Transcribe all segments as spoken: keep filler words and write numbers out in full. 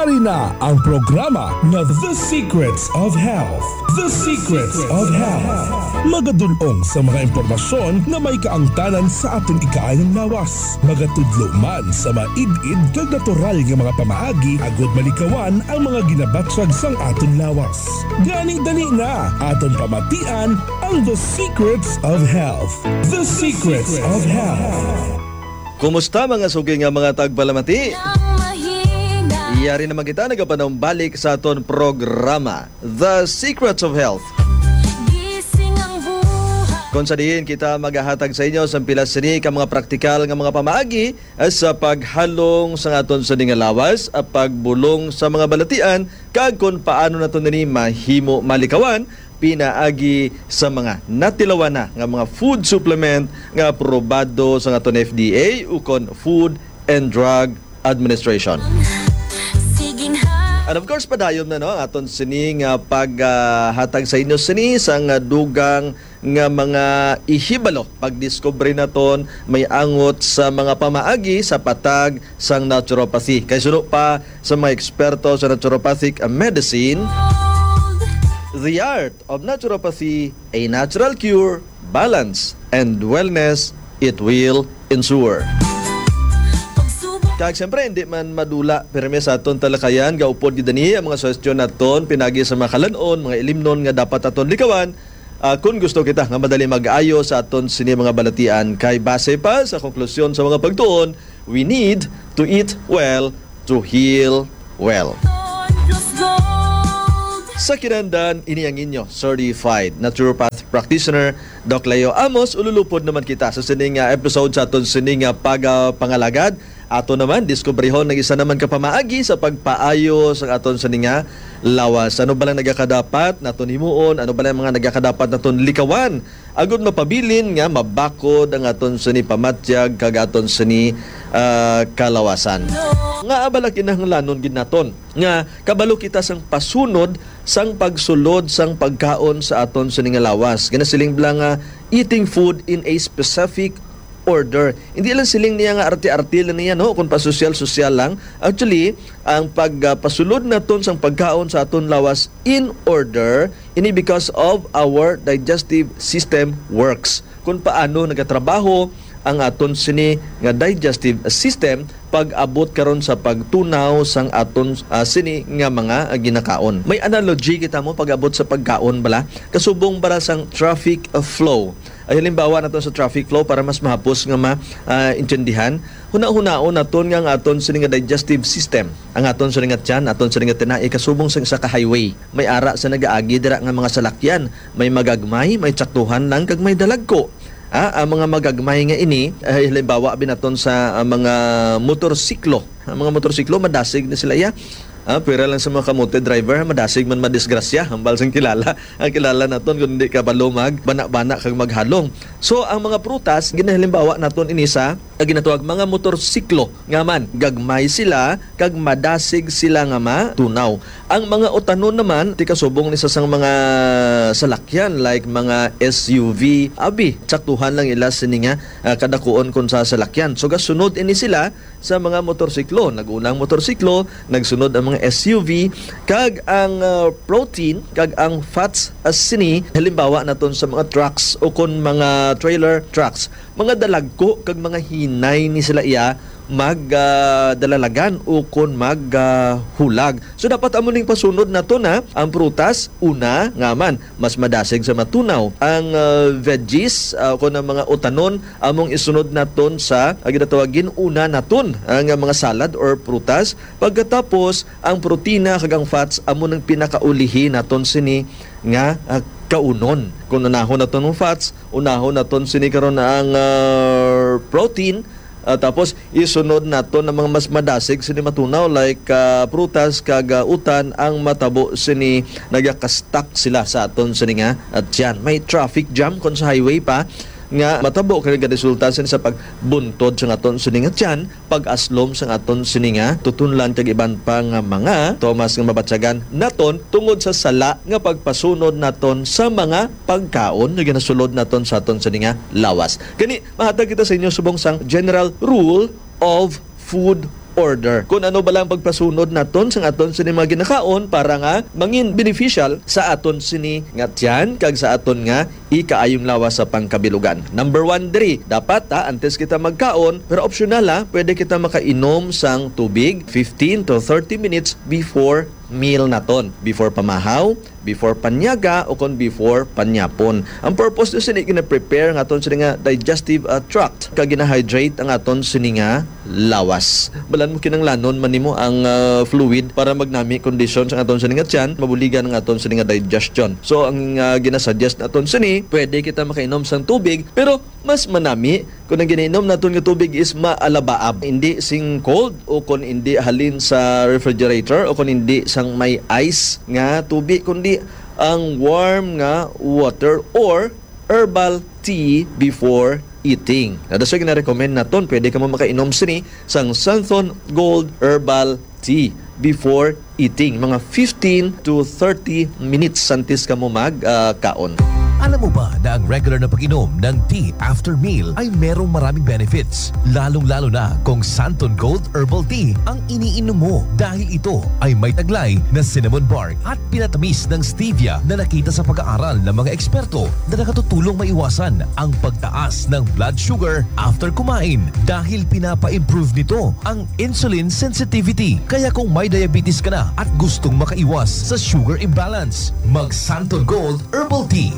Ari na ang programa nga The Secrets of Health. The Secrets of Health. Magadulong sa mga impormasyon nga may kaangtanan sa aton ikaayong lawas. Magatudlo man sa maid-id kag natural nga mga pamaagi agud malikawan ang mga ginabatyag sang aton lawas. Gani, dali na, aton pamatian ang The Secrets of Health. The Secrets of Health. Kumusta, mga suki nga mga tagpalamati? Yari naman kita nagapanumbalik sa aton programa, The Secrets of Health. Kung sa diin kita magahatag sa inyo sa pila sini ka mga praktikal nga mga pamaagi, eh, sa paghalong sa aton sini nga lawas, ah, pagbulong sa mga balatian, kag kung paano nato nini mahimo malikawan, pinaagi sa mga natilawan na nga mga food supplement nga aprobado sa aton F D A ukon Food and Drug Administration. And of course, padayon na, no, ang aton sini nga paghatag sa inyo sini sang dugang nga mga ihibalo, pagdiskubre naton may angot sa mga pamaagi sa patag sang naturopathy. Kay suno pa sa mga eksperto sa naturopathic medicine, the art of naturopathy, a natural cure, balance, and wellness, it will ensure. Kag siyempre, hindi man madula pirmi sa aton talakayan, gaupod gid ani ang mga suhestyon naton pinagi sa mga kalan-on, mga ilimnon nga dapat aton likawan, ah, kung gusto kita nga madali mag-ayo sa aton sini mga balatian, kay base pa sa konklusyon sa mga pagtuon, we need to eat well to heal well. Sa kinahanglan, ini ang inyo certified naturopath practitioner, Doc Leo Amos. Ululupod naman kita sa sini nga episode sa aton sini nga pagapangalagad. Ato naman diskubrihon ang isa naman ka pamaagi sa pagpaayo sa aton sini nga lawas. Ano ba lang nagakadapat naton himuon? Ano ba lang mga nagakadapat naton likawan? Agud mapabilin nga mabakod ang aton sini pamatyag kag aton sini, ah, kalawasan. Nga abala kinahanglanon gid naton nga kabalo kita sang pasunod sang pagsulod sang pagkaon sa aton sini nga lawas. Ginasiling bala nga eating food in a specific order. Hindi lang siling niya nga arte-arte lang niya, no, kung pasosyal-sosyal lang. Actually, ang pagpasulod naton sang pagkaon sa aton lawas in order, ini because of our digestive system works. Kung paano nagatrabaho ang aton sini nga digestive system pag-abot karon sa pagtunaw sang aton, ah, sini nga mga, ah, ginakaon. May analogy kita mo pag-abot sa pagkaon bala. Kasubong bala sang traffic, ah, flow. Ay, halimbawa naton sa traffic flow para mas mahapos nga ma, ah, intindihan. Hunahunaon naton nga ang aton sini nga digestive system, ang aton sini nga tiyan, aton sini nga tinai, kasubong sang isa ka highway. May ara sa nagaagi dira nga mga salakyan, may magagmay, may tsaktuhan lang, kag may dalagko. Ah, ang mga magagmay nga ini, ay, halimbawa binaton sa, ah, mga motorsiklo. Ang mga motorsiklo, madasig na sila, iya. Ah, pira lang sa mga kamote driver, madasig man madisgrasya, hambal sang kilala. Ang kilala naton, kung hindi ka balo mag bana-bana kag maghalong. So, ang mga prutas, ginahalimbawa naton ini sa, ang ginatawag mga motorsiklo. Nga man, gagmay sila, kag madasig sila nga matunaw. Ang mga utanon naman, ti kasubong ni sa sang mga salakyan, like mga S U V, abi, tsaktuhan lang ila sini nga, ah, kadakuon kon sa salakyan. So, gasunod ini sila sa mga motorsiklo. Nag-una ang motorsiklo, nagsunod ang mga S U V, kag ang, ah, protein, kag ang fats, as sini, halimbawa naton sa mga trucks o kon mga trailer trucks. Mga dalagko kag mga hinay ni sila iya mag, ah, dalalagan o kon mag, ah, hulag. So, dapat amo ning pasunod naton, ha, ang prutas, una, nga man, mas madasig sa matunaw. Ang, ah, veggies, ah, kon ang mga utanon, among isunod naton sa, ah, ginatawag gin-una naton, ah, nga mga salad or prutas. Pagkatapos, ang protina kag ang fats amo nang pinakaulihi naton sini nga, ah, kaunon. Kung unahon naton ang fats, unahon naton sini karon ang, ah, protein, ah, tapos isunod naton ang mga mas madasig sini matunaw, like, ah, prutas kag, ah, utan, ang matabo sini nagakastak sila sa aton sini nga, ah, tiyan. May traffic jam kon sa highway pa nga matabo kay nagaresulta sini sa pagbuntod sa aton sini nga tiyan, pag-aslom sa aton sini nga tutunlan kag iban pa nga mga tomas nga mabatyagan naton tungod sa sala nga pagpasunod naton sa mga pagkaon nga ginasulod naton sa aton sini nga lawas. Gani, mahatag kita sa inyo subong sang general rule of food order. Kung ano bala ang pagpasunod naton sa aton sini mga ginakaon para nga mangin beneficial sa aton sini nga tiyan kag sa aton nga ikaayong lawas sa pangkabilugan. Number one diri, dapat, ha, antes kita magkaon, pero optional, ha, pwede kita makainom sang tubig fifteen to thirty minutes before meal naton, before pamahaw, before panyaga, o kon before panyapon. Ang purpose na sini, gina-prepare ang aton sini nga digestive, ah, tract, kag gina-hydrate ang aton sini nga lawas. Balan mo, kinanglanon man nimo ang, ah, fluid para magnami kondisyon sa aton sini nga tiyan, mabuligan ang aton sini nga digestion. So, ang, ah, ginasuggest naton sini, pwede kita makainom sang tubig, pero mas manami kung ang ginainom naton nga tubig is maalabaab, hindi sing cold o kung hindi halin sa refrigerator o kung hindi sang may ice nga tubig, kundi ang warm nga water or herbal tea before eating. Na, that's why gina-recommend naton, pwede ka mo makainom sini sang Santhon Gold Herbal Tea before eating, mga fifteen to thirty minutes antes ka mo mag, ah, kaon. Alam mo ba na ang regular na pag-inom ng tea after meal ay merong maraming benefits, lalong-lalo na kung Santon Gold Herbal Tea ang iniinom mo, dahil ito ay may taglay na cinnamon bark at pinatamis ng stevia na nakita sa pag-aaral ng mga eksperto na nakatutulong maiwasan ang pagtaas ng blood sugar after kumain, dahil pinapa-improve nito ang insulin sensitivity. Kaya kung may diabetes ka na at gustong makaiwas sa sugar imbalance, mag Santon Gold Herbal Tea.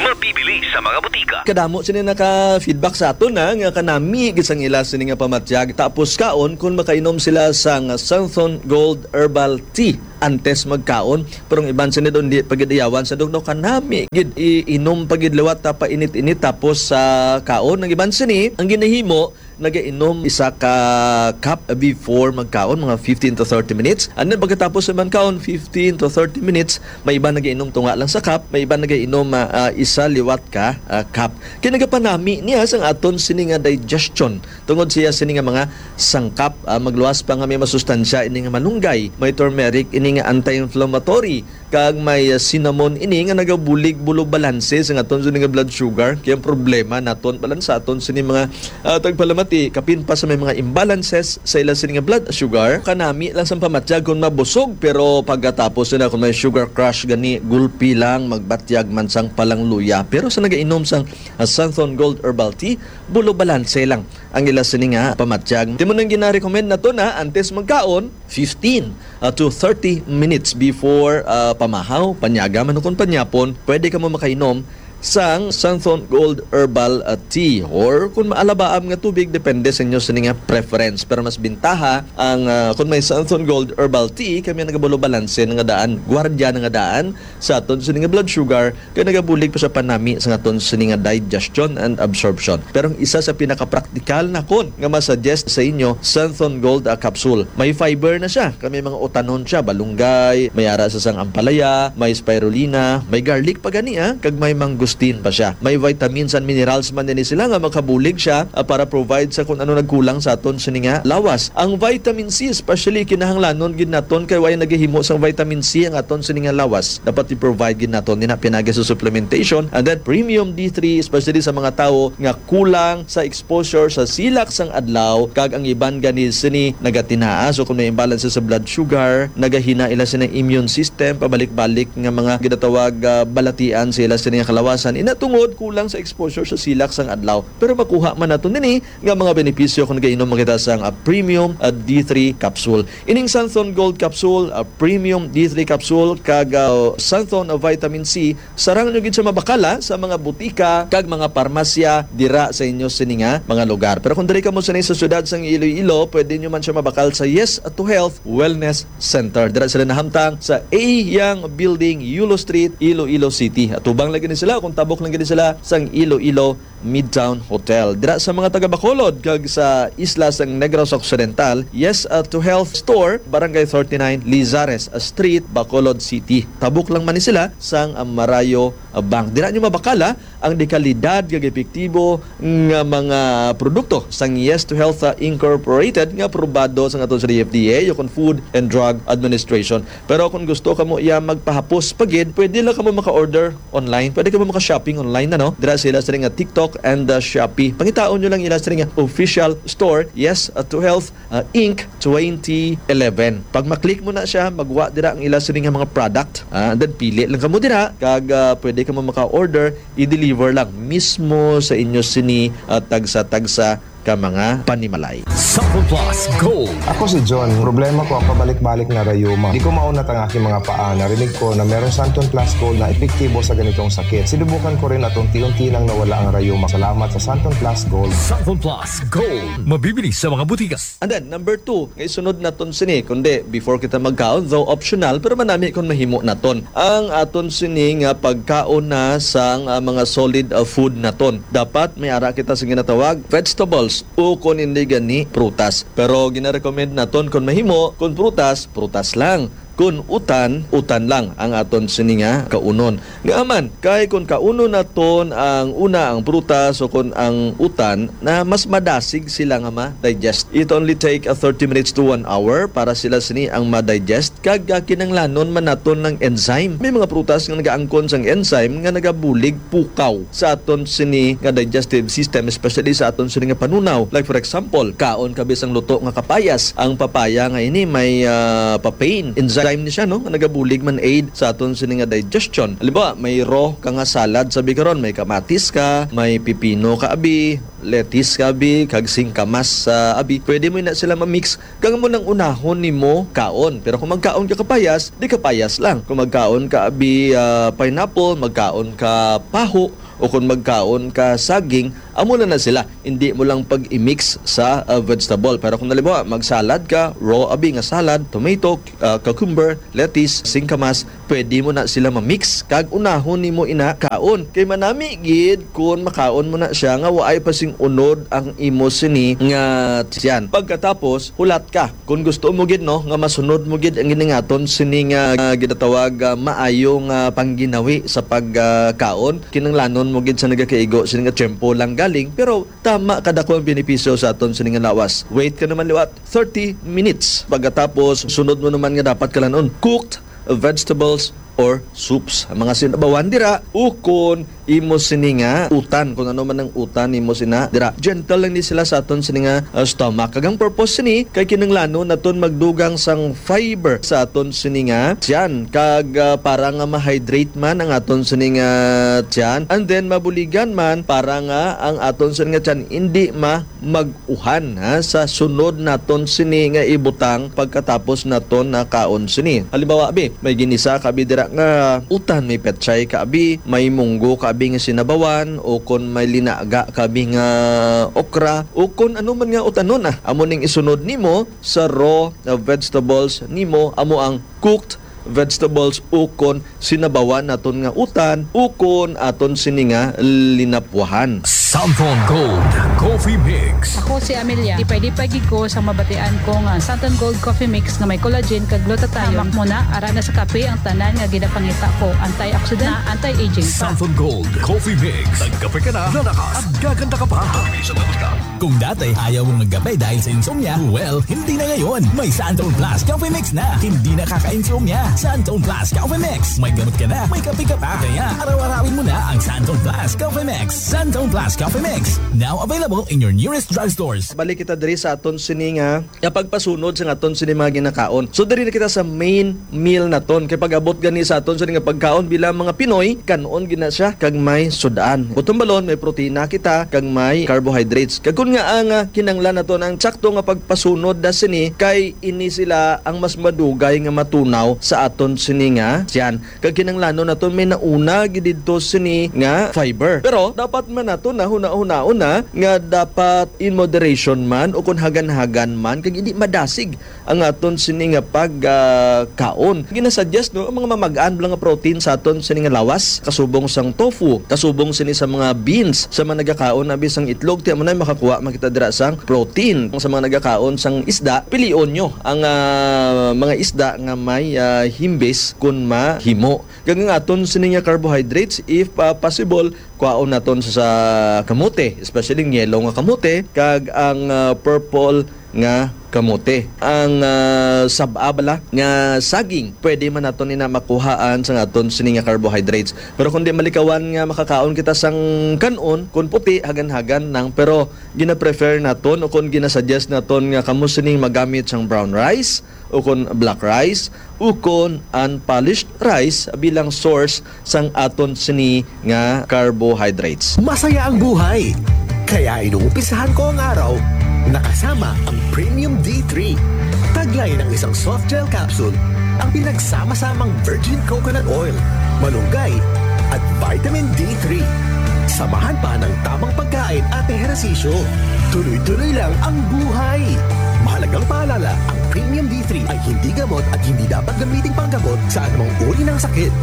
Mabibili sa mga butika. Kadamo sini naka-feedback sa aton na nga kanami gid sang ila sini nga pamatyag, tapos kaon kung makainom sila sang Santhon Gold Herbal Tea antes magkaon. Pero ang iban sini doon, di pa gid iyawan sa dugno, kanami gid iinom pa gid liwat ta pa init-init tapos sa kaon. Ang iban sini, ang ginahimo, nagainom isa ka cup before magkaon, mga fifteen to thirty minutes. And then pagkatapos naman kaon, fifteen to thirty minutes, may iba nagainom tunga lang sa cup, may iba nagainom, ah, ah, isa liwat ka, ah, cup. Kay nagapanami niya sang aton sini nga digestion, tungod siya sini nga mga sangkap, ah, magluwas pa nga may masustansya ini nga malunggay, may turmeric ini nga anti-inflammatory, kag may, ah, cinnamon ini nga nagabulig bulo balanse sa aton sini nga blood sugar. Kaya ang problema naton, balansa aton sini mga, ah, tagpalamati, kapin pa sa may mga imbalances sa ila sini nga blood sugar. Kanami lang sang pamatyag kung mabusog, pero pagkatapos nila kung may sugar crash gani, gulpi lang, magbatyag man sang palangluya. Pero sa nagainom sang, ah, Santhon Gold Herbal Tea, bulo balanse lang ang ila sini nga pamatyag. Timo nang gina-recommend nato na antes magkaon, fifteen, ah, to thirty minutes before, ah, pamahaw, panyaga man o kon panyapon, pwede ka mo makainom sang Santhon Gold Herbal, ah, Tea, or kung maalabaab nga tubig, depende sa inyo sini nga preference. Pero mas bintaha ang, ah, kung may Santhon Gold Herbal Tea, kami ang nagabulo balanse na nga daan, gwardiya na nga daan sa aton sini nga blood sugar, kay nagabulig pa sa panami sa aton sini nga digestion and absorption. Pero ang isa sa pinakapraktikal nakon nga masuggest sa inyo, Santhon Gold, ah, capsule. May fiber na siya, kay may mga utanon siya, balunggay, may ara sa sang ampalaya, may spirulina, may garlic pa gani, ah, kag may mangosteen pa siya. May vitamins and minerals man din sila nga makabulig siya, ah, para provide sa kung ano nagkulang sa aton sini nga lawas. Ang vitamin C, especially, kinahanglanon gid naton kay way nagahimo sang vitamin C ang aton sini nga lawas. Dapat i-provide gid naton nina pinagi sa supplementation. And then premium D three, especially sa mga tawo nga kulang sa exposure sa silak sang adlaw, kag ang iban gani sini nagatinaa. So kung may imbalance sa blood sugar, nagahina ila sini immune system, pabalik-balik nga mga ginatawag, ah, balatian sa ila sini nga kalawasan. Ina tungod kulang sa exposure sa silak sang adlaw. Pero makuha man nato nini nga mga benepisyo kung nagainom kita sang, ah, premium, ah, D three capsule. Ining Santhon Gold Capsule, ah, Premium D three Capsule, kag, ah, Santhon, ah, Vitamin C, sarang nyo gid siya mabakala sa mga butika kag mga parmasya dira sa inyo sini nga mga lugar. Pero kung diri kamo sini sa siyudad sang Iloilo, pwede nyo man siya mabakal sa Yes to Health Wellness Center. Dira sila nahamtang sa A Young Building, Yulo Street, Iloilo City. Atubang lagi ni sila kung tabok lang gid sila sang Iloilo Midtown Hotel. Dira sa mga taga Bacolod kag sa isla sang Negros Occidental, Yes, uh, to Health Store, Barangay thirty-nine, Lizares Street, Bacolod City. Tabok lang man ni sila sang, uh, Marayo, uh, Bank. Dira nyo mabakala ang dekalidad kag epektibo nga mga produkto sang Yes to Health, ah, Incorporated nga aprobado sang aton sa D F D A o kon Food and Drug Administration. Pero kung gusto kamo iya magpahapos pa gid, pwede lang kamo maka-order online. Pwede kamo maka-shopping online na, no? Dira sila sa nga TikTok and, ah, Shopee. Pangitaon nyo lang ila sa nga official store, Yes, ah, to Health, ah, Inc twenty eleven. Pag maklik mo na siya, magwa dira ang ila sini nga mga product. Ah, and then pili lang kamo dira kag, ah, pwede kamo maka-order, i-deliver lang mismo sa inyo sini, ah, tagsa-tagsa ka mga panimalay. Sample Plus Gold. Ako si John. Problema ko ang pabalik-balik na rayuma. Di ko maunat ang aking mga paa. Narinig ko na merong Santon Plus Gold na epektibo sa ganitong sakit. Sinubukan ko rin at unti-unti nang nawala ang rayuma. Salamat sa Santon Plus Gold. Sample Plus Gold. Mabibili sa mga butika. And then, number two, nga isunod naton sini, kundi before kita magkaon, though optional, pero manami kung mahimo naton. Ang aton sini nga pagkaon na sang, ah, mga solid, ah, food naton. Dapat may ara kita sa ginatawag vegetables o kung hindi gani, prutas. Pero ginarecommend naton kung mahimo, kung prutas, prutas lang. Kun utan, utan lang ang aton sini nga kaunon. Nga man, kay kun kaunon naton ang una, ang prutas o kun ang utan, na mas madasig sila nga ma-digest. It only take a thirty minutes to one hour para sila sini ang ma-digest, kag, ah, kinanglanon man naton ng enzyme. May mga prutas nga nagaangkon sang enzyme nga nagabulig pukaw sa aton sini nga digestive system, especially sa aton sini nga panunaw. Like for example, kaon ka bisang luto nga kapayas. Ang papaya nga ini may, ah, papain enzyme ni siya, no, nga nagabulig man aid sa aton sini nga digestion. Halimbawa, may raw ka nga salad sa bikaron, may kamatis ka, may pipino ka abi, lettuce ka abi, kag singkamas sa abi. Pwede mo na sila ma-mix kag amo nang unahon nimo kaon. Pero kung magkaon ka kapayas, di kapayas lang. Kung magkaon ka abi, ah, pineapple, magkaon ka paho, o kung magkaon ka saging, amo na na sila. Hindi mo lang pag-i-mix sa, ah, vegetable. Pero kung halimbawa, magsalad ka, raw abi nga salad, tomato, ah, cucumber, lettuce, singkamas, pwede mo na sila ma-mix kag unahon nimo ina kaon. Kay manami gid kun makaon mo na siya nga waay pa sing unod ang imo sini nga tiyan. Pagkatapos, hulat ka. Kung gusto mo gid, no, nga masunod mo gid ang giningaton sini nga, ah, ginatawag, ah, maayo nga pangginawi sa pagkaon, kinanglanon mo gid sa nagakaigo sini nga tiyempo lang galing, pero tama kadako ang benepisyo sa aton sini nga lawas. Wait ka naman liwat thirty minutes. Pagkatapos, sunod mo naman nga dapat kalanon, cooked vegetables or soups. Ang mga sinabawan dira, ukon imo sini nga utan, kung ano man ang utan imo sina dira. Gentle lang ni sila sa aton sini nga, uh, stomach. Kag ang purpose sini kay kinahanglanon naton magdugang sang fiber sa aton sini nga tiyan. Kag, uh, para nga ma-hydrate man ang aton sini nga tiyan, and then mabuligan man para nga ang aton sini nga tiyan hindi ma mag-uhan, ha, sa sunod naton sini nga ibutang pagkatapos naton nakaon sini. Halimbawa, abi, may ginisa ka abi dira nga utan, may petchay ka abi, may munggo ka abi nga sinabawan, o kon may linaga ka abi nga okra, o kon ano man nga utanon, ah. Amo ning isunod nimo sa raw, uh, vegetables nimo, amo ang cooked vegetables ukon sinabawan naton nga utan ukon aton sini nga linapwahan. Santon Gold Coffee Mix. Ako si Amelia. Lipay-lipay gid ko sa mabatian ko nga Santon Gold Coffee Mix nga may collagen kag glutathione. Hamak mo na, ara na sa kape ang tanan nga ginapangita ko. Antioxidant, anti-aging pa. Santon Gold Coffee Mix. Nagkape ka na, lalakas, at gaganda ka pa. Kape sa lakas ka. Kung dati ayaw mong magkape dahil sa insomnia, well, hindi na ngayon. May Santon Plus Coffee Mix na. Hindi nakaka-insomnia. Santon Plus Coffee Mix. May gamot ka na, may kape ka pa. Kaya araw-arawin mo na ang Santon Plus Coffee Mix. Santon Plus Coffee Mix. Now available in your nearest drugstores. Balik kita diri sa aton sini nga, nga pagpasunod sa aton sini mga ginakaon. So diri na kita sa main meal naton. Kay pag-abot gani sa aton sa nga pagkaon bilang mga Pinoy, kan-on gina siya kag may sud-an. Butong balon, may protina kita kag may carbohydrates. Kag kun nga ang, ah, kinanglan naton ang sakto nga pagpasunod na sini, kay ini sila ang mas madugay nga matunaw sa aton sini nga tiyan. Kag kinanglanon naton may nauna gid didto sini nga fiber. Pero dapat man naton na huna-hunaon na nga dapat in moderation man o kun hagan-hagan man kag hindi madasig ang aton sini nga pag, ah, kaon. Ginasuggest, no, ang mga mamag-an lang nga protein sa aton sini nga lawas, kasubong sang tofu, kasubong sini sa mga beans, sa mga nagakaon abi sang itlog, ti amo na makakuha man kita dira sang protein. Sa mga nagakaon sang isda, pilion nyo ang, ah, mga isda nga may, ah, himbis kun mahimo. Kag ang aton sini nga carbohydrates, if, ah, possible, Kwaon naton sa, sa kamote, especially ang yellow nga kamote, kag ang, ah, purple nga kamote. Ang, ah, sab-a bala nga saging, pwede man naton ina makuhaan sa aton sini nga carbohydrates. Pero kung di malikawan nga makakaon kita sang kan-on, kung puti, hagan-hagan lang. Pero gina-prefer naton o kung ginasuggest naton nga kamo sining magamit sang brown rice, o kon black rice, o kon unpolished rice bilang source sang aton sini nga carbohydrates. Masaya ang buhay. Kaya inumpisahan ko ang araw nakasama ang Premium D three. Taglay ng isang soft gel capsule ang pinagsama-samang virgin coconut oil, malunggay, at vitamin D three. Samahan pa ng tamang pagkain at ehersisyo. Tuloy-tuloy lang ang buhay. Mahalagang paalala, ang Premium D three ay hindi gamot at hindi dapat gamiting panggamot sa anumang uri ng sakit.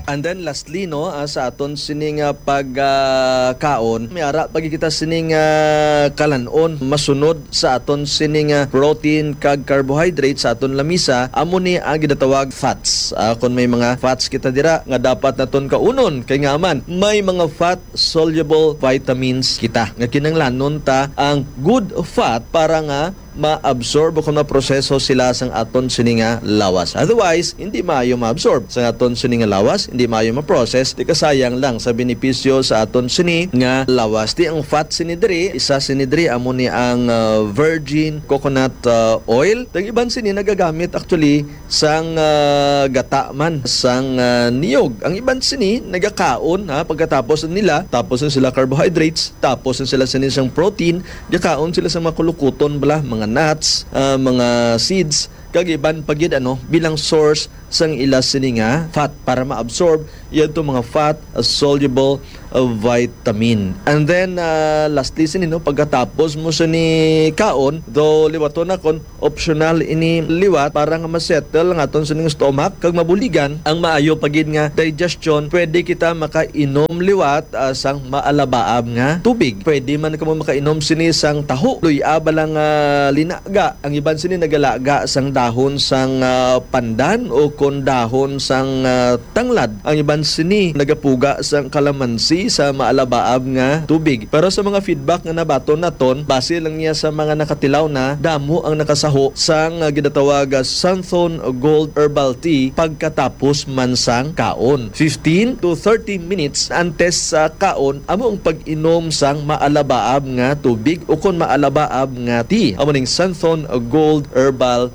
And then lastly, no, ah, sa aton sining, ah, pag, ah, kaon, may ara pa gid kita sining, ah, kalan-on masunod sa aton sining, ah, protein kag carbohydrate sa aton lamisa, amo ni ang ginatawag fats. Ah, kung may mga fats kita dira nga dapat naton kaunon, kay nga man may mga fat soluble vitamins kita nga kinahanglanon ta ang good fat para nga ma-absorb o kung maproseso sila sang aton sini nga lawas. Otherwise, hindi maayo ma-absorb sang aton sini nga lawas, hindi maayo ma-process, di kasayang lang sa benepisyo sa aton sini nga lawas. Di ang fat sini diri, isa sini diri amo ni ang, ah, virgin coconut, ah, oil. Ang iban sini nagagamit actually sang, ah, gata man sang, ah, niyog. Ang iban sini nagakaon, ha, pagkatapos nila, tapos na sila carbohydrates, tapos na sila sini sang protein, gakaon sila sa mga kulukuton bala, mga nuts, ah, mga seeds, kag iban pa gid, ano, bilang source sang ila sini nga fat para ma-absorb yadto mga fat, ah, soluble, ah, vitamin. And then, ah, lastly sini, no, pagkatapos mo sini kaon, though liwaton na kon optional ini liwat para nga ma-settle ang aton sining stomach kag mabuligan ang maayo pa gid nga digestion, pwede kita makainom liwat, ah, sang maalabaab nga tubig. Pwede man kamo makainom sini sang taho, luy-a bala nga linaga. Ang iban sini nagalaga sang dahon sang, ah, pandan o kon dahon sang, ah, tanglad. Ang iban sini nagapuga sang kalamansi sa maalabaab nga tubig. Pero sa mga feedback nga nabaton naton, base lang niya sa mga nakatilaw na, damo ang nakasaho sang, ah, ginatawag, ah, Santhon Gold Herbal Tea pagkatapos man sang kaon. Fifteen to thirty minutes antes sa kaon, amo ang pag-inom sang maalabaab nga tubig o kon maalabaab nga tea. Amo ning Santhon Gold Herbal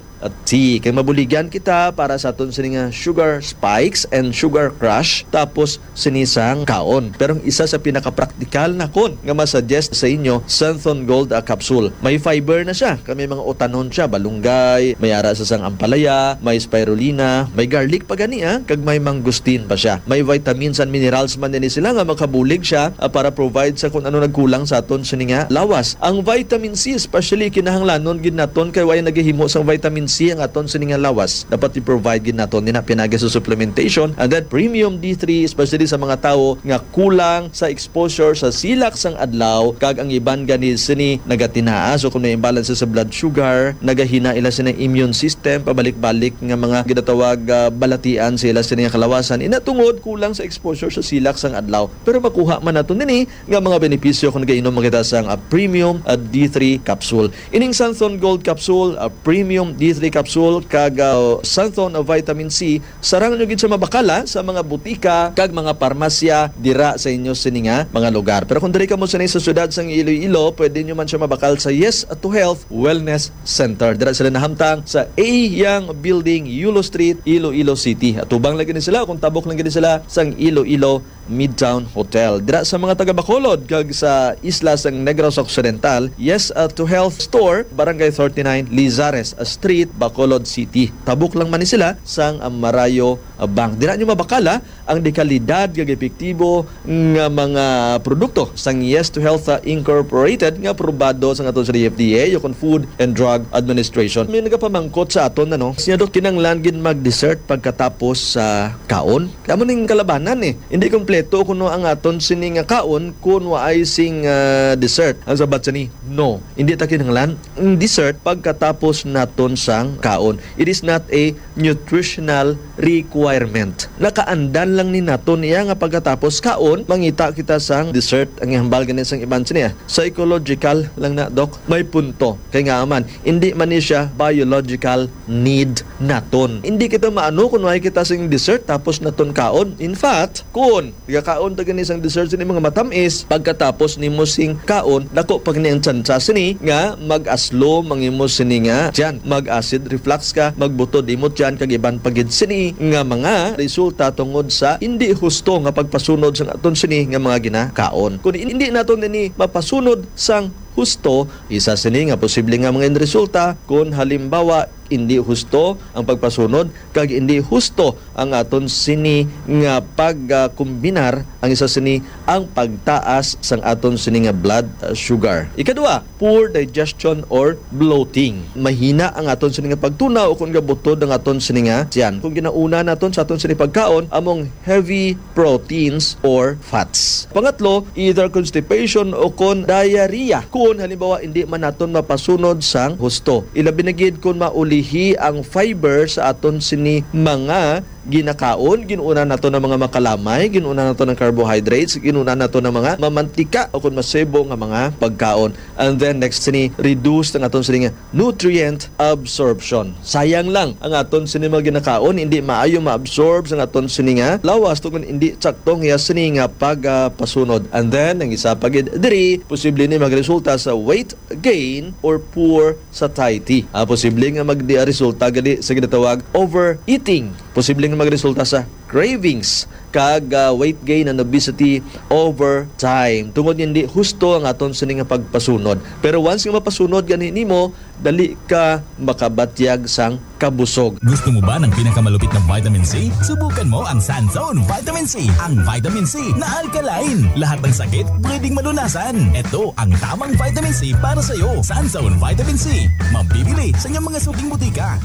Tea. Kay mabuligan kita para sa aton sini nga sugar spikes and sugar crash, tapos sini sang kaon. Pero ang isa sa pinakapraktikal nakon nga masuggest sa inyo, Santhon Gold, ah, capsule. May fiber na siya, kay may mga utanon siya, balunggay, may ara sa sang ampalaya, may spirulina, may garlic pa gani, ah, kag may mangosteen pa siya. May vitamins and minerals man din sila nga makabulig siya, ah, para provide sa kung ano nagkulang sa aton sini nga lawas. Ang vitamin C especially kinahanglanon gid naton kay way nagahimo sang vitamin C ang aton sini nga lawas. Dapat i-provide gid naton nina pinagi sa supplementation, and then premium D three, especially sa mga tawo nga kulang sa exposure sa silak sang adlaw, kag ang iban gani sini nagatinaa. So kung may imbalance sa blood sugar, nagahina ila sini immune system, pabalik-balik nga mga ginatawag, ah, balatian sa ila sini nga kalawasan. Ina tungod kulang sa exposure sa silak sang adlaw. Pero makuha man nato nini nga mga benepisyo kung nagainom man kita sang, ah, premium, ah, D three capsule. Ining Santhon Gold capsule, ah, premium D three capsule, kag, ah, Santhon, ah, vitamin C, sarang nyo gid siya mabakal, ah, sa mga butika kag mga parmasya dira sa inyo sini nga mga lugar. Pero kung diri kamo sini sa siyudad sang Iloilo, pwede nyo man siya mabakal sa Yes to Health Wellness Center. Dira sila nahamtang sa A Yang Building, Yulo Street, Iloilo City. Atubang lagi ni sila kung tabok lang gid sila sang Iloilo Midtown Hotel. Dira sa mga taga Bacolod kag sa isla sang Negros Occidental, Yes, uh, to Health Store, Barangay thirty-nine, Lizares Street, Bacolod City. Tabok lang man ni sila sang, uh, Marayo, uh, Bank. Dira nyo mabakal, ah, ang dekalidad kag epektibo nga mga produkto sang Yes to Health, uh, Incorporated nga aprobado sang aton sa D F D A o kon Food and Drug Administration. May nagapamangkot sa aton, ano, siya, Dok, kinanglan gid mag-dessert pagkatapos sa kaon? Amo ning kalabanan, eh. Hindi kompleto kuno ang aton sini nga kaon kun waay sing, ah, dessert. Ang sabat sini, no. Hindi ta kinahanglan ang dessert pagkatapos naton sang kaon. It is not a nutritional requirement. Nakaandal lang ni naton iya nga pagkatapos kaon, mangita kita sang dessert. Ang ihambal gani sang iban sini, ah, psychological lang na, Doc. May punto. Kay nga man, hindi man ni siya biological need naton. Hindi kita maano kung wala kita sing dessert tapos naton kaon. In fact, kung nagakaon ta gani sang dessert sini mga matamis, pagkatapos nimo sing kaon, dako pa gani ang tsansa sini nga mag-aslom ang imo sini nga tiyan. Mag-acid reflux ka, magbutod imo tiyan, kag iban pa gid sini nga mga resulta tungod sa hindi husto nga pagpasunod sang aton sini nga mga ginakaon. Kung hindi naton ini mapasunod sang husto, isa sini nga posible nga mga resulta, kung halimbawa, hindi husto ang pagpasunod kag hindi husto ang aton sini nga pagkombinar, ang isa sini ang pagtaas sang aton sini nga blood, uh, sugar. Ikadua, poor digestion or bloating. Mahina ang aton sini nga pagtunaw o kung gabutod ang aton sini nga tiyan. Kung ginauna naton sa aton sini pagkaon among heavy proteins or fats. Pangatlo, either constipation o kon diarrhea. Kung halimbawa, hindi man naton mapasunod sang husto. Ilabi na gid kung maulihi ang fiber sa aton sini mga ginakaon, ginuna nato ng mga makalamay, ginuna nato ng carbohydrates, ginuna nato ng mga mamantika o kung masebo nga mga pagkaon. And then next sini, reduce ang aton sini nga nutrient absorption. Sayang lang ang aton sini mga ginakaon, hindi maayo ma-absorb sa aton sini nga lawas tungod hindi sakto ang iya sini nga pagpasunod. And then ang isa pa gid diri, posible ni magresulta sa weight gain or poor satiety. Ah, posible nga magresulta gali sa ginatawag overeating. Posible nga magresulta sa cravings kag, ah, weight gain and obesity over time. Tungod hindi husto ang aton sini nga pagpasunod. Pero once nga mapasunod gani nimo, dali ka makabatyag sang kabusog. Gusto mo ba ng pinakamalupit na vitamin C? Subukan mo ang Sanzone Vitamin C. Ang vitamin C na alkaline. Lahat ng sakit pwedeng malunasan. Ito ang tamang vitamin C para sa iyo. Sanzone Vitamin C. Mabibili sa inyong mga suking butika.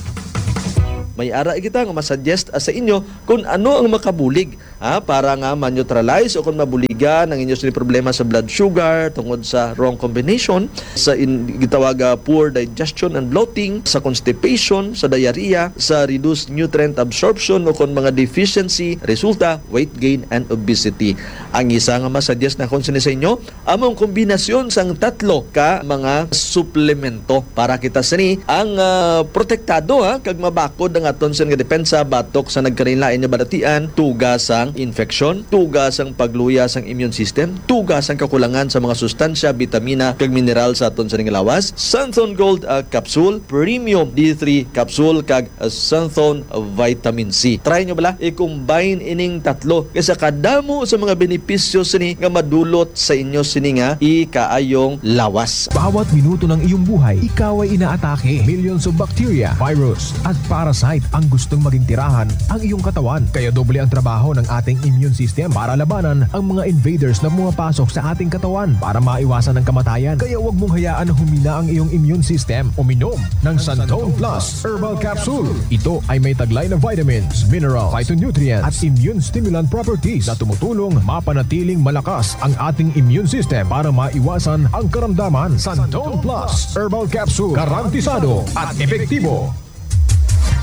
May ara kita nga masuggest, ah, sa inyo kung ano ang makabulig, ah, para nga ma-neutralize o kung mabuligan ang inyo sini problema sa blood sugar tungod sa wrong combination, sa in-, gitawag, ah, poor digestion and bloating, sa constipation, sa diarrhea, sa reduced nutrient absorption o kung mga deficiency, resulta, weight gain and obesity. Ang isa nga masuggest na kung sini sa inyo, amo ang kombinasyon sang tatlo ka mga suplemento para kita sini ang, ah, protektado, ha, kag mabakod ang aton sini nga depensa batok sa nagkalain-lain nga balatian, tuga sang infeksyon, tuga sang pagluya sang immune system, tuga sang kakulangan sa mga sustansya, bitamina, kag mineral sa aton sini nga lawas. Santhon Gold, ah, Capsule, Premium D three Capsule, kag Santhon Vitamin C. Try nyo bala, i-combine ining tatlo kay sa kadamo sa mga benepisyo sini nga madulot sa inyo sini nga ikaayong lawas. Bawat minuto ng iyong buhay, ikaw ay inaatake. Millions of bacteria, virus, at parasite ang gustong maging tirahan ang iyong katawan. Kaya doble ang trabaho ng ating immune system para labanan ang mga invaders na pumapasok sa ating katawan. Para maiwasan ang kamatayan, kaya huwag mong hayaan na humina ang iyong immune system. Uminom ng Santon Plus Herbal Capsule. Ito ay may taglay na vitamins, mineral, phytonutrient at immune stimulant properties na tumutulong mapanatiling malakas ang ating immune system para maiwasan ang karamdaman. Santon Plus Herbal Capsule, garantisado at epektibo.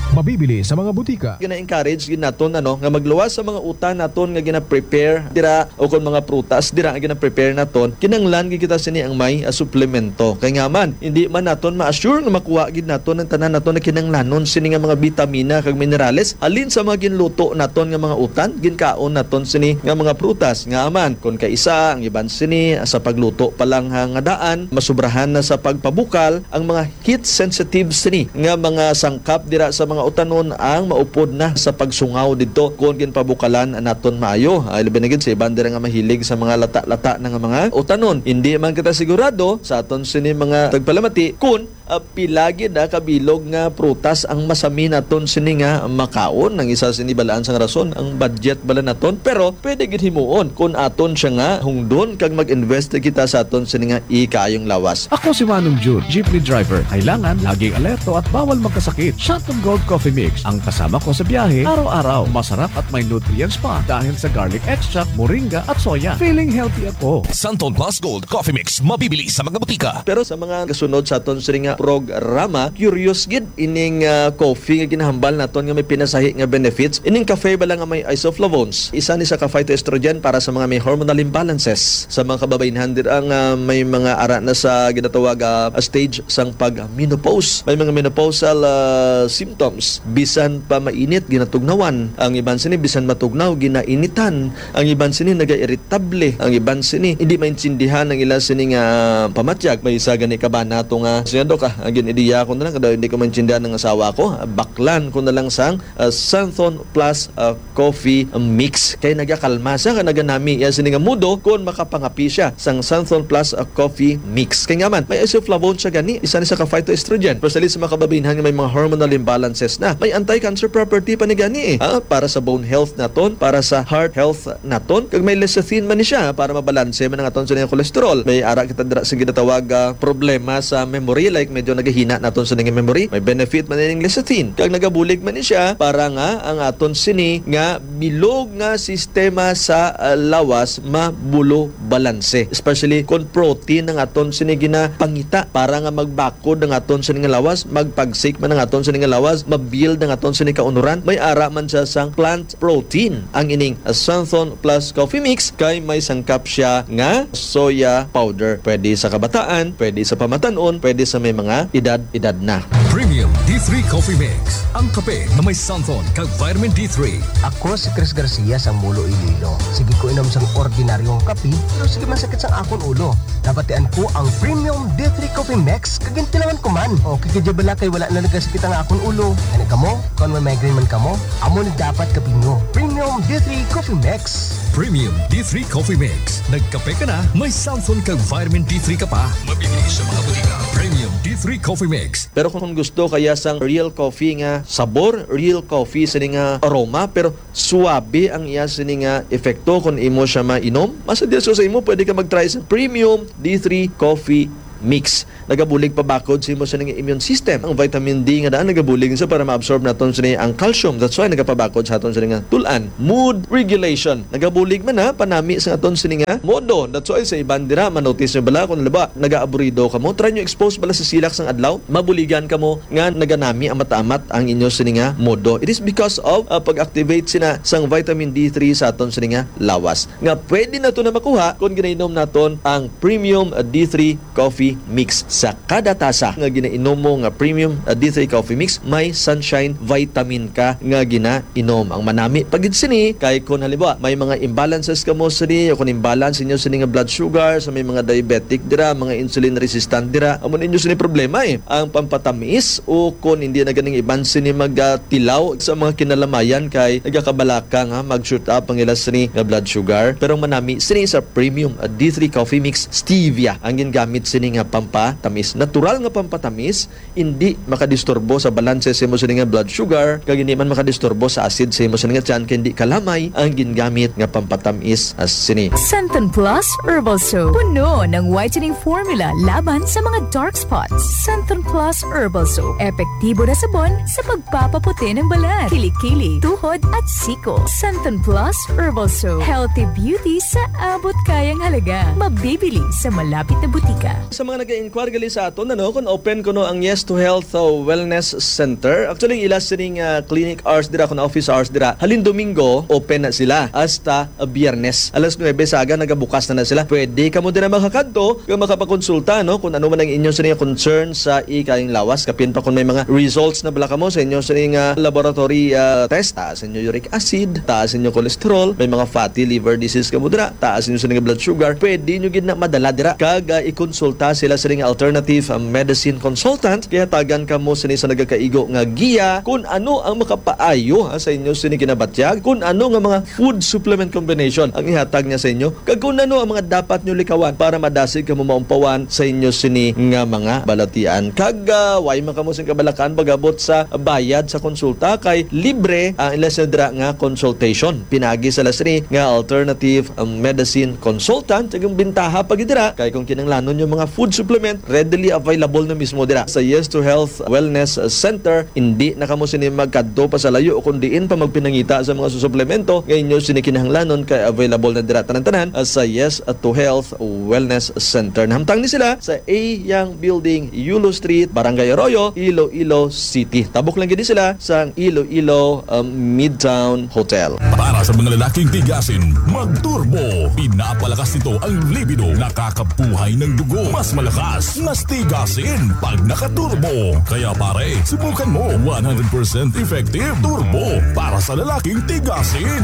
Mabibili sa mga butika. Gina-encourage gid naton, ano, nga magluwas sa mga utan naton nga gina-prepare dira o kon mga prutas dira nga gina-prepare naton, kinahanglan gid kita sini ang may, ah, suplemento. Kay nga man, hindi man naton ma-assure nga makuha gid naton ang tanan naton nga kinahanglanon sini nga mga bitamina kag minerales halin sa mga ginluto naton nga mga utan, ginkaon naton sini nga mga prutas. Nga man, kon kaisa, ang iban sini, ah, sa pagluto pa lang, ha, nga daan, masubrahan na sa pagpabukal ang mga heat sensitive sini nga mga sangkap dira sa mga utanon ang maupod na sa pagsungaw didto kon ginpabukalan naton maayo. Ay, labi na gid sa iban dira nga mahilig sa mga lata-lata na nga mga utanon. Hindi man kita sigurado sa aton sini mga tagpalamati kun, ah, pila gid, ah, kabilog nga prutas ang masami naton sini nga makaon. Ang isa sini balaan sang rason, ang budget bala naton. Pero pwede gid himuon kon aton siya nga hungdon kag mag-invest kita sa aton sini nga ikaayong lawas. Ako si Manong Jun, jeepney driver. Kailangan laging alerto at bawal magkasakit. Shot of Gold Coffee Mix, ang kasama ko sa biyahe, araw-araw. Masarap at may nutrients pa dahil sa garlic extract, moringa at soya. Feeling healthy ako. Santon Plus Gold Coffee Mix, mabibili sa mga butika. Pero sa mga kasunod sa aton sini nga programa, curious gid ining, ah, coffee nga ginahambal naton nga may pinasahi nga benefits. Ining cafe bala nga may isoflavones, isa ni sa ka phytoestrogen para sa mga may hormonal imbalances. Sa mga kababaynhan dira nga may mga ara na sa ginatawag, ah, stage sang pag-menopause. May mga menopausal, ah, symptoms. Bisan pa mainit, ginatugnawan. Ang iban sini, bisan matugnaw, ginainitan. Ang iban sini, nagairitable. Ang iban sini, hindi maintindihan ang ila sini nga pamatyag. May isa gani ka ba nato nga, "Siya, Dok, ah, ang gin-ideya ko na lang, kada hindi ko maintindihan ng asawa ko, ah, baklan ko na lang sang, ah, Santhon Plus, ah, Coffee Mix." Kay nagakalma siya, nga naganami iya sini nga mudo kung makapangapi siya sang Santhon Plus, ah, Coffee Mix. Kay nga man, may isoflavone siya gani, isa ni sa ka phytoestrogen. Especially sa mga kababaynhan nga may mga hormonal imbalances na. May anti-cancer property pa ni gani, eh. Ah, para sa bone health naton, para sa heart health naton. Kag may lecithin man ni siya para mabalanse man ang aton sini nga cholesterol. May ara kita dira sa ginatawag, ah, problema sa memory, like medyo nagahina naton sini nga memory. May benefit man ining lecithin. Kag nagabulig man ni siya para nga ang aton sini nga bilog nga sistema sa, ah, lawas mabulo balanse. Especially kung protein ang aton sini ginapangita para nga magbakod ang aton sini nga lawas, magpagsik man ang aton sini nga lawas, mabuild ang aton sini kaunuran. May ara man siya sang plant protein. Ang ining Santhon Plus Coffee Mix kay may sangkap siya nga soya powder. Pwede sa kabataan, pwede sa pamatan-on, pwede sa may mga edad-edad na. Premium D three Coffee Mix, ang kape na may santhon kag vitamin D three. Ako si Chris Garcia sang Mulo, Iloilo. Sige ko inom sang ordinaryong kape, pero sige man sakit sang akon ulo. Nabatian ko ang Premium D three Coffee Mix, kag gintilawan ko man. Okay ka dya bala kay wala na nagasakit ang akon ulo. Kani kamo, kung may migraine man kamo, amo ni dapat kape nyo. Premium D three Coffee Mix. Premium D three Coffee Mix. Nagkape ka na, may santhon kag vitamin D three ka pa. Mabibili sa mga butika. Premium D three Coffee Mix. Pero kung gusto kaya sang real coffee nga sabor, real coffee sini nga aroma, pero suabe ang iya sini nga epekto kung imo siya mainom, mas diretso sa imo, pwede ka mag-try sa Premium D three Coffee Mix. Nagabulig pabakod sa imo sini nga immune system. Ang vitamin D nga daan nagabulig siya para ma-absorb naton sini ang calcium. That's why nagapabakod sa aton sini nga tul-an. Mood regulation. Nagabulig man na panami sa aton sini nga modo. That's why sa iban dira, manotice nyo bala kung, halimbawa, nagaaburido kamo, try nyo expose bala sa silak sang adlaw, mabuligan kamo nga naganami amat-amat ang inyo sini nga modo. It is because of, uh, pag-activate sina sang vitamin D three sa aton sini nga lawas, nga pwede nato na makuha kung ginainom naton ang Premium, uh, D three Coffee Mix. Sa kada tasa nga ginainom mo nga Premium, uh, D three Coffee Mix, may Sunshine Vitamin ka nga ginainom. Ang manami pa gid sini kay kung halimbawa may mga imbalances kamo sini, o kung imbalance inyo sini nga blood sugar, sa may mga diabetic dira, mga insulin resistant dira, amo ninyo sini problema, eh. Ang pampatamis, o kung hindi na ganing iban sini magatilaw sa mga kinalamayan kay nagakabalaka nga mag-shoot up ang ila sini nga blood sugar. Pero manami sini sa Premium, uh, D three Coffee Mix, stevia ang gingamit sini nga pampatamis. Natural nga pampatamis, hindi makadisturbo sa balanse sa imo sini nga blood sugar, kag hindi man makadisturbo sa acid sa imo sini nga tiyan, kay hindi kalamay ang gingamit nga pampatamis, ah, sini. Santon Plus Herbal Soap. Puno ng whitening formula laban sa mga dark spots. Santon Plus Herbal Soap. Epektibo na sabon sa pagpapaputi ng balat, kilikili, tuhod at siko. Santon Plus Herbal Soap. Healthy beauty sa abot kayang halaga. Mabibili sa malapit na butika. Sa mga nag-inquire gali sa aton, ano, kung open kuno ang Yes to Health, uh, Wellness Center. Actually, ila sining, uh, clinic hours dira, kung office hours dira, halin Domingo, open na sila hasta, uh, Biyernes. Alas nuebe sa aga, nagabukas na na sila. Pwede kamo dira makakadto, kung makapakonsulta, no, kung ano man ang inyo sining concern sa ikayang lawas. Kapin pa kung may mga results na bala kamo sa inyo sining, uh, laboratory, uh, test, taas inyo uric acid, taas inyo cholesterol, may mga fatty liver disease kamo dira, taas inyo sining blood sugar, pwede nyo gid na madala dira kag, ah, ikonsulta sila sining alternative, ah, medicine consultant. Kay hatagan kamo sini sa nagakaigo nga giya kung ano ang makapaayo, ah, sa inyo sini ginabatyag, kung ano nga mga food supplement combination ang ihatag niya sa inyo, kag kung ano ang mga dapat nyo likawan para madasig kamo maumpawan sa inyo sini nga mga balatian. Kag, ah, way man kamo sing kabalakan pag-abot sa bayad sa konsulta, kay libre ang ila sini dira nga consultation. Pinaagi sa ila sini nga alternative, um, medicine consultant. Kag ang bintaha pa gid dira kay kung kinahanglanon nyo mga food supplement, readily available na mismo dira sa Yes to Health Wellness Center. Hindi na kamo sini magkadto pa sa layo kung diin pa magpinangita sa mga suplemento nga inyo sini kinahanglanon, kay available na dira tanan-tanan, ah, sa Yes to Health Wellness Center. Nahamtang ni sila sa A Young Building, Yulo Street, Barangay Arroyo, Iloilo City. Tabok lang gid sila sa Iloilo, um, Midtown Hotel. Para sa mga lalaking tigasin, mag-turbo. Pinapalakas nito ang libido, nakakabuhay ng dugo. Mas malakas, mas tigasin pag naka-turbo. Kaya pare, subukan mo. One hundred percent effective turbo para sa lalaking tigasin.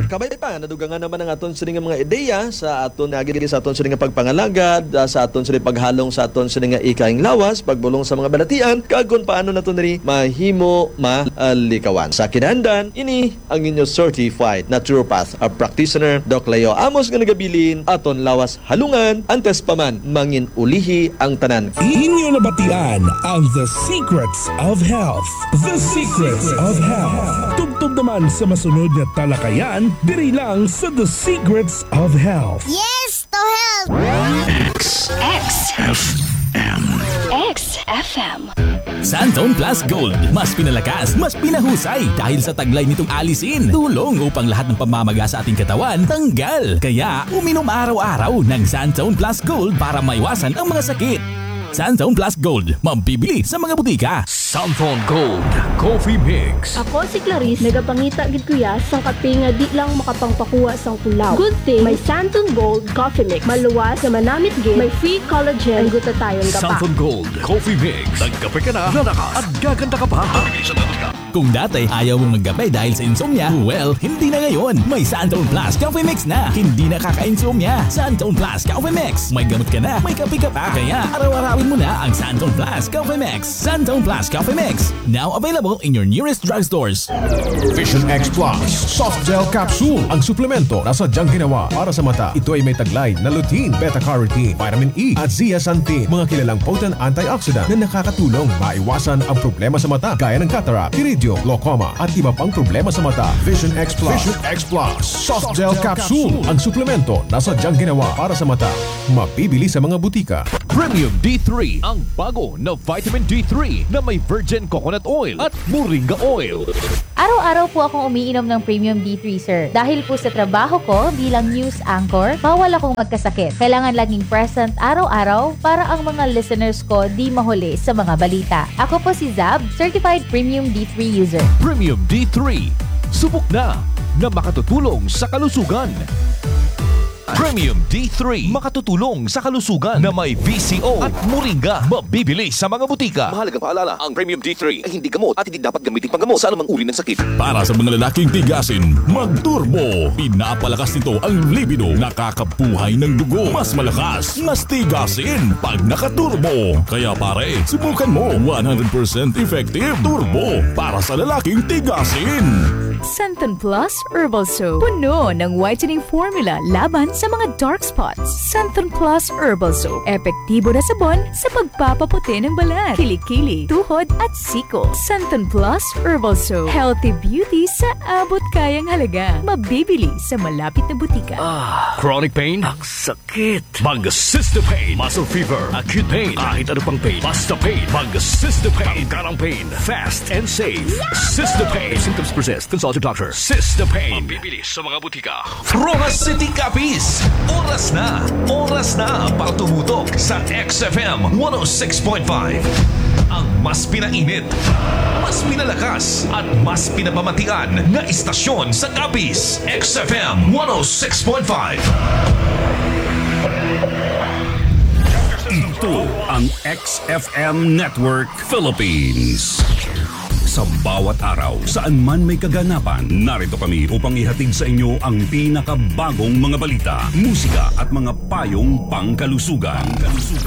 Kabay pa, nadugangan naman ang aton sini nga mga ideya sa aton agi sa aton sini nga pagpangalagad, ah, sa aton sini paghalong sa aton sini nga ikaing lawas, pagbulong sa mga balatian, kag kung paano nato niri mahimo malikawan. Sa kinaandan, ini ang inyo certified naturopath, a practitioner, Doc Leo Amos, nga nagabilin, aton lawas halungan, antes pa man mangin ulihi ang tanan. Inyo nabatian ang The Secrets of Health. The Secrets of Health. Tubtob naman sa masunod nga talakayan, diri lang sa The Secrets of Health. Yes to health! X. X. F M. X F M. Santon Plus Gold. Mas pinalakas, mas pinahusay dahil sa taglay nitong allicin. Tulong upang lahat ng pamamaga sa ating katawan tanggal. Kaya, uminom araw-araw ng Santon Plus Gold para maiwasan ang mga sakit. Santon Plus Gold, mabibili sa mga butika. Santon Gold Coffee Mix. Ako si Clarice, nagapangita gid ko ya sang kape nga di lang makapangpakuha sang kulaw. Good thing may Santon Gold Coffee Mix. Maluwas nga manamit gid, may free collagen, ang gutatayon ka pa. Santon Gold Coffee Mix. Nagkape ka na, lalakas, at gaganda ka pa. Kung dati ayaw mong magkape dahil sa insomnia, well, hindi na ngayon. May Santon Plus Coffee Mix na. Hindi nakaka-insomnia. Santon Plus Coffee Mix. May gamot ka na, may kape ka pa. Kaya araw-arawin mo na ang Santon Plus Coffee Mix. Santon Plus Coffee Mix. Now available in your nearest drugstores. Vision X Plus Soft Gel Capsule. Ang suplemento na sadyang ginawa para sa mata. Ito ay may taglay na lutein, beta-carotene, vitamin E, at zeaxanthin, mga kilalang potent antioxidant na nakakatulong maiwasan ang problema sa mata gaya ng cataract, iridium, glaucoma, at iba pang problema sa mata. Vision X Plus. Vision X Plus Soft Gel Capsule. Ang suplemento na sadyang ginawa para sa mata. Mabibili sa mga butika. Premium D three, ang bago na vitamin D three na may virgin coconut oil at moringa oil. Araw-araw po akong umiinom ng Premium D three, sir. Dahil po sa trabaho ko bilang news anchor, bawal akong magkasakit. Kailangan laging present araw-araw para ang mga listeners ko di mahuli sa mga balita. Ako po si Zab, certified Premium D three user. Premium D three. Subok na nga makatutulong sa kalusugan. Premium D three, makatutulong sa kalusugan na may V C O at moringa, mabibili sa mga butika. Mahalagang paalala, ang Premium D three ay hindi gamot at hindi dapat gamitin panggamot sa anumang uri ng sakit. Para sa mga lalaking tigasin, mag-turbo. Pinapalakas nito ang libido, nakakabuhay ng dugo. Mas malakas, mas tigasin pag naka-turbo. Kaya pare, subukan mo. One hundred percent effective turbo para sa lalaking tigasin. Santon Plus Herbal Soap. Puno ng whitening formula laban sa mga dark spots. Santon Plus Herbal Soap. Epektibo na sabon sa pagpapaputi ng balat, kilikili, tuhod, at siko. Santon Plus Herbal Soap. Healthy beauty sa abot kayang halaga. Mabibili sa malapit na butika. Ah, chronic pain? Ang sakit. Mag Sister Pain. Muscle fever, acute pain, kahit ano pang pain. Basta pain. Mag Sister Pain. Tanggal ang pain. Fast and safe. Sister Pain. If symptoms persist, consult your doctor. Sister Pain. Mabibili sa mga butika. Roxas City, Capiz. Oras na. Oras na para tumutok sa X F M one oh six point five. Ang mas pinainit, mas pinalakas, at mas pinapamatian nga istasyon sa Capiz. X F M one oh six point five. Ito ang X F M Network Philippines. Sa bawat araw, saan man may kaganapan, narito kami upang ihatid sa inyo ang pinakabagong mga balita, musika at mga payong pangkalusugan.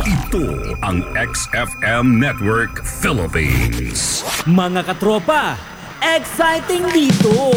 Ito ang X F M Network Philippines. Mga katropa, exciting dito!